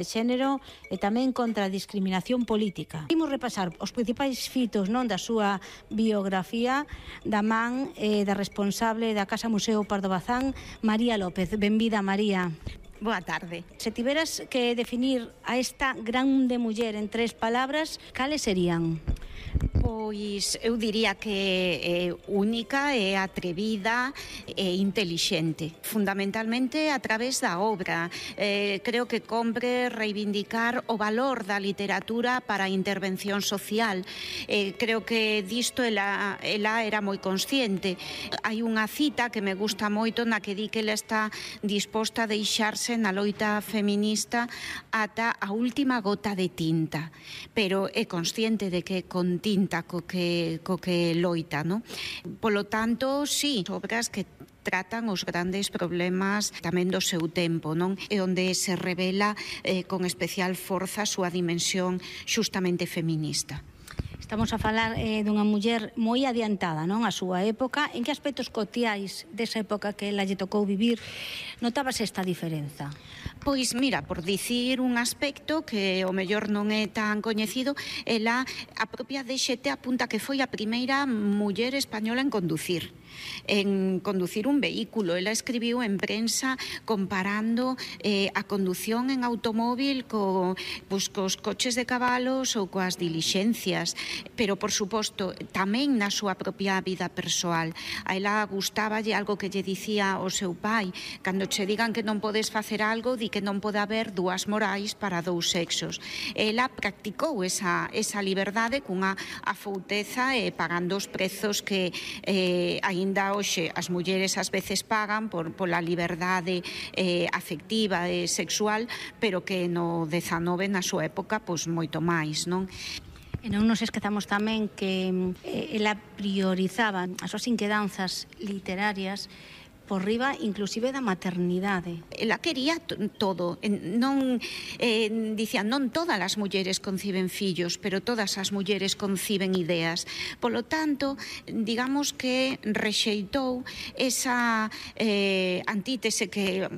de xénero e tamén contra a discriminación política. Imos repasar os principais fitos da súa biografía da man da responsable da Casa Museo Pardo Bazán, María López. Benvida, María. Boa tarde. Se tiveras que definir a esta grande muller en 3 palabras, cales serían? Pois eu diría que é única, é atrevida e intelixente, fundamentalmente a través da obra. Creo que compre reivindicar o valor da literatura para a intervención social. Creo que disto ela era moi consciente. Hai unha cita que me gusta moito na que di que ela está disposta a deixarse na loita feminista ata a última gota de tinta, pero é consciente de que con tinta co que loita, non? Polo tanto, sí, obras que tratan os grandes problemas tamén do seu tempo, non? E onde se revela con especial forza a súa dimensión xustamente feminista. Estamos a falar dunha muller moi adiantada, non, a súa época. En que aspectos cotiais desa época que ela lle tocou vivir notábase esta diferenza? Pois mira, por dicir un aspecto que o mellor non é tan coñecido, ela, a propia DXT apunta que foi a primeira muller española en conducir un vehículo. Ela escribiu en prensa comparando a condución en automóvil cos coches de cabalos ou coas dilixencias, pero por suposto tamén na súa propia vida persoal. A ela gustáballe algo que lle dicía o seu pai: cando che digan que non podes facer algo, di que non pode haber dúas morais para dous sexos. Ela practicou esa liberdade cunha afouteza e pagando os prezos que aínda hoxe as mulleres ás veces pagan pola liberdade afectiva e sexual, pero que no 19 na súa época pois moito máis, non? E non nos esquezamos tamén que ela priorizaba as súas inquedanzas literarias por riba inclusive da maternidade. Ela quería todo. Dicía, non todas as mulleres conciben fillos, pero todas as mulleres conciben ideas. Polo tanto, digamos que rexeitou esa antítese que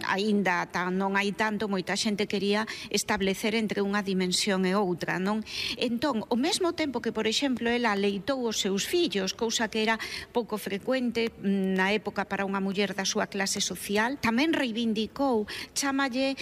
aínda non hai tanto, moita xente quería establecer entre unha dimensión e outra, non? Entón, ao mesmo tempo que, por exemplo, ela leitou os seus fillos, cousa que era pouco frecuente na época para unha muller da súa clase social, tamén reivindicou, chámalle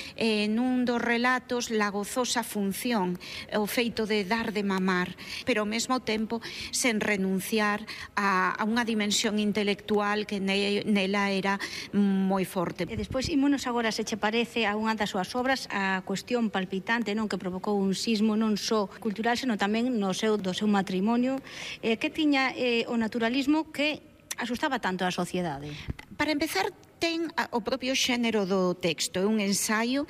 nun dos relatos la gozosa función, o feito de dar de mamar, pero ao mesmo tempo sen renunciar a unha dimensión intelectual que nela era moi forte. E despois, ímonos agora, se che parece, a unha das súas obras, a cuestión palpitante, non, que provocou un sismo non só cultural, senón tamén do seu matrimonio, que tiña o naturalismo que asustaba tanto a sociedade. Para empezar, ten o propio xénero do texto, é un ensaio.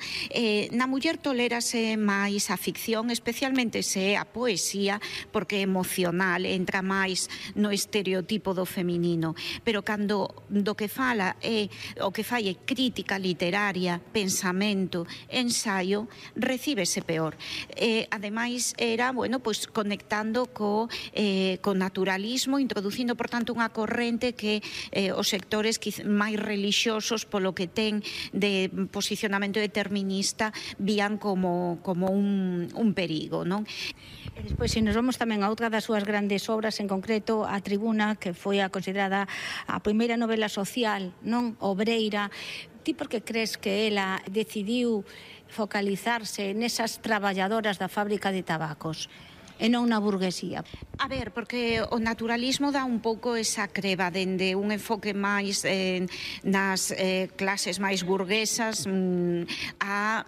Na muller tolérase máis a ficción, especialmente se é a poesía, porque é emocional, entra máis no estereotipo do feminino, pero cando do que fala o que fai é crítica literaria, pensamento, ensaio, recíbese peor. Ademais, era, pois conectando co naturalismo, introducindo, por tanto, unha corrente que os sectores máis religiosos, polo que ten de posicionamento determinista, vían como un perigo, non? E despois, se nos vamos tamén a outra das súas grandes obras, en concreto a Tribuna, que foi a considerada a primeira novela social, non, obreira, ti por que crees que ela decidiu focalizarse nesas traballadoras da fábrica de tabacos e non na burguesía? A ver, porque o naturalismo dá un pouco esa creba dende un enfoque máis nas clases máis burguesas a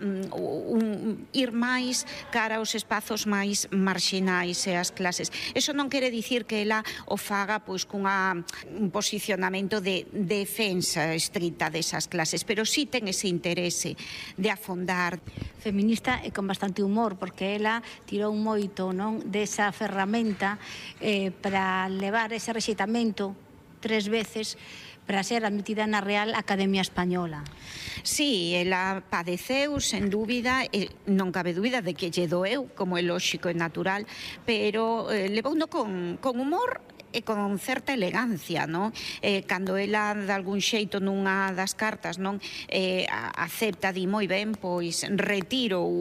ir máis cara aos espazos máis marxinais e as clases. Eso non quere dicir que ela o faga pois un posicionamento de defensa estrita desas clases, pero sí ten ese interese de afondar. Feminista e con bastante humor, porque ela tirou moito, non, desa ferramenta para levar ese rexeitamento 3 veces para ser admitida na Real Academia Española. Sí, ela padeceu, sen dúbida, non cabe dúbida de que lle doeu, como é lóxico e natural, pero levouno con humor e con certa elegancia, non? Cando ela de algún xeito nunha das cartas non acepta, di moi ben, pois retiro